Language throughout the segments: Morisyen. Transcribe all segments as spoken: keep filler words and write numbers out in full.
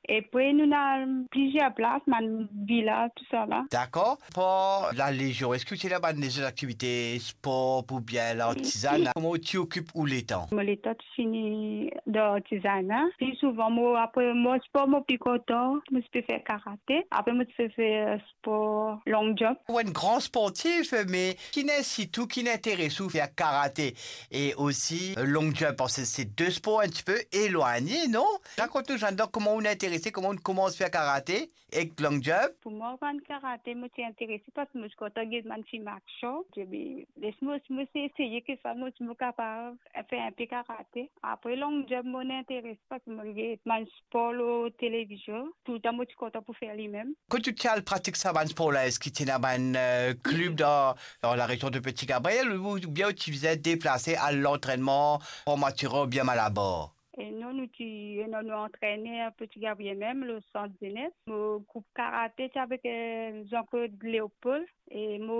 Epre nou ena plizier plas, bann vila, tousala. Dakor. Par la lezion, eski ou ti ena bann lezot aktivite, spor oubien lartizana? Kouma ou ti okip ou letan? Mo letan ti fini dan lartizana. Pli souvan, mo, apre mo spor, mo pli kontan, mo ti pe fer karate. Apre mo ti pe fer spor long jump. Ou enn gran sportif, me ki'nn insit ou, ki'nn interes ou fer karate e osi, euh, long jump, parski se de spor enn tipe elwagne, non? Rakont nou, Jeanne d'Arc, kouma ou inn interese, kouma ou inn koumans fer karate ek long jump? Pou mwa, bann karate, mo ti interese parski mo ti kontan gete bann fim aksion. Mo dir, be, les mo, mo eseye, ki sa mo, mo kapav fer inpe karate. Apre long jump, mo inn interese parski mo get bann spor lor televizion. Toultan mo ti kontan pou fer limem. Kot ou ti al pratik sa bann spor la, eski ti ena bann, euh, klib dan, dan larezion de Petit Gabriel, oubien ou ti bizin deplase al lantrennman Fort Mathurin oubien Malabar? E non, nou ti, non, nou antrene Petit Gabriel mem, le sant zenes. Mo group karate ti avek, euh, Jean-Claude Léopold e mo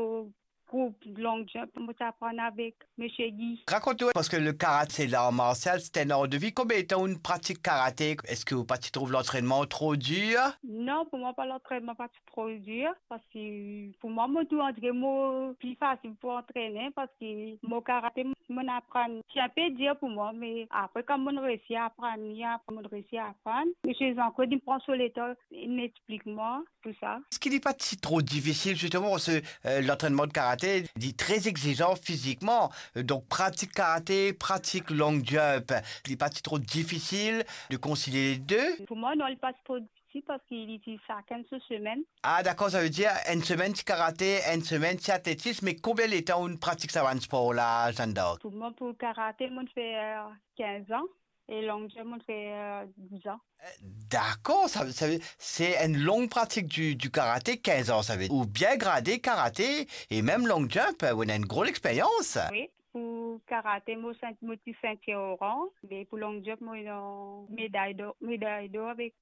group long jump, mo ti aprann avek Misie Guy. Rakont nou, parski le karate, se lar marsial, se enn ar de vi. Konbien letan ou pratik karate, eski ou pa ti trouv lantrennman tro dir? Non, pou mwa pa, lantrennman pa ti tro dir, parski pou mwa, mo trouv andire mo pli fasil pou antrene, parski mo karate, mo aprann, ti inpe dir pou mwa, me apre, kan mo resi aprann li, apre mo resi aprann, Misie Jean-Claude, li pran so letan, li explik mwa tou sa. Eski li pa ti tro difisil, zisteman, parski, euh, lantrennman de karate, li tre egzizan fizikman. Euh, donk, pratik karate, pratik long jump, li pa ti tro difisil de konsilie le de? Pou mwa, non, li pa ti tro difisil parski li ti sakenn so semenn. Ah, dakor, savedir enn semenn ti karate, enn semenn ti atletis, me konbien letan ou pratik sa bann spor la, Jeanne d'Arc? Pou mwa, pou karate, mo fer, euh, kinz an. E long jump, mo fer, euh, diz an. Eh, dakor, sa, sa, se enn long pratik di, di karate, kinz an, savedir ou bien grade karate e mem long jump, ou ena enn gro lexperyans. Wi, pou karate, mo sint-, mo ti sintir oranz, me pou long jump, mo ena meday dor, meday dor avek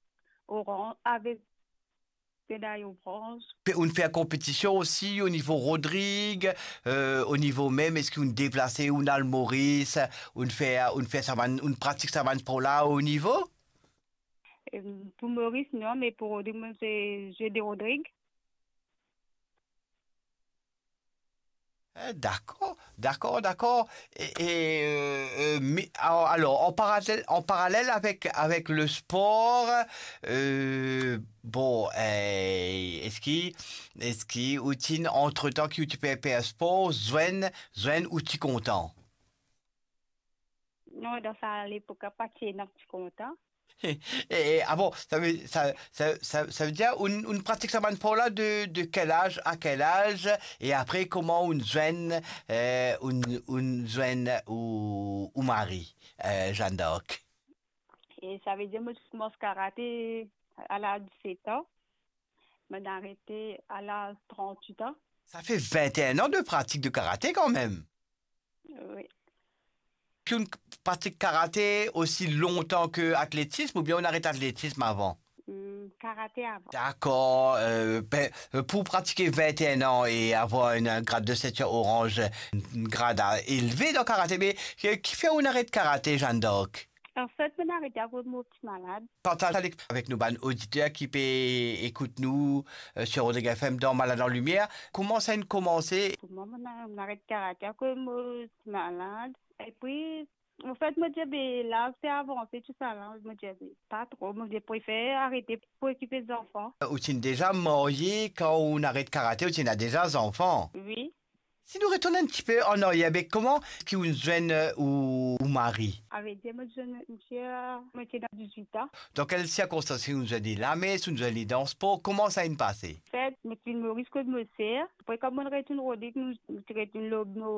oranz, avek meday bronz. Pe, ou fer konpetision osi o nivo Rodrig, euh, o nivo mem, eski ou deplase, ou al Moris, ou fer, ou fer sa bann, ou pratik sa bann spor la o nivo? Em, pou Moris, non, me pou Rodrig, mo se Jeux de Rodrig. Eh, dakor, dakor, dakor. E, e, euh, euh, me, al-, alor, an paralel, an paralel avek, avek le spor, euh, bon, eh, eski, eski ou ti, antretan ki ou ti pe fer spor, zwenn, zwenn ou ti kontan? Non, dan sa lepok la, pa ti ena ti kontan. E, e, ah bon, sa ve, sa, sa, sa, savedir ou, ou pratik sa bann spor la de, de kel az a kel az, e apre kouma ou zwenn, eh, ou, ou zwenn ou, ou mari, eh, Jeanne d'Arc? E savedir mo ti koumans karate a laz diset an, mo arete a laz trant-wit an. Sa fer vinte-enn an de pratik de karate kanmem. Wi. Ki ou pratik karate osi lontan ki atletis, oubien ou aret atletis avan? Hmm, karate avan. Dakor, euh, be, euh, pou pratike vinte-enn an e avoir enn, enn grad de sintir oranz, enn grad a, elve dan karate, me ki, ki fer ou aret karate, Jeanne d'Arc? Anfet, mo arete akoz mo ti malad. Partaz avek, avek nou bann oditer ki pe ekout nou, euh, sur Rodrigue F M dan Malad an Limier. Kouma sa inn koumanse? Pou mwa, mo, mo aret karate akoz mo ti malad. Epi, anfet, mo dir, be, laz pe avanse, tousala, mo dir, be, pa tro, mo dir, prefer arete pou okipe zanfan. Ou ti deza marye kan ou aret karate, ou ti ena deza zanfan? Wi. Si nou retourn enn tipe an aryer, be, kouma ki ou zwenn, euh, ou, ou mari? Savedir, mo zwenn misie, mo ti ena dizwit an. Dan kel sirkonstans ou zwenn li, lames, ou zwenn li dan spor, kouma sa inn pase? Anfet, mo ti vinn Moris kot mo ser. Apre, kan mo retourn Rodrig, nou, nou ti retourn lor mo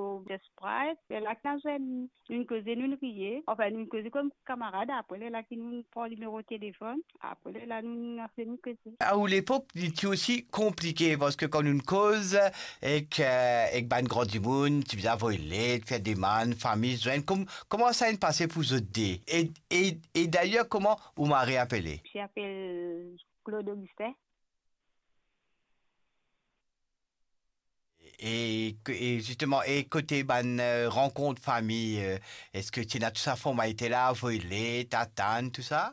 Sprite. Lerla ki nou zwenn, nou koze, nou riye. Anfin, nou koze kom kamarad. Apre, lerla ki nou pran nimero telefonn. Apre, lerla nou, nou apel, nou koze. A ou lepok, li ti osi konplike, parski kan nou koz ek, euh, ek bann gran dimoun, ti bizin avoy let, fer demann, fami zwenn. Kom-, kouma sa inn pase pou zot de? E, e, e dayer, kouma ou mari apele? Li apel Claude Augustin. E, e zisteman, e kote bann, euh, rankont fami, euh, eski ti ena tou sa formalite la, avoy let, atann, tou sa?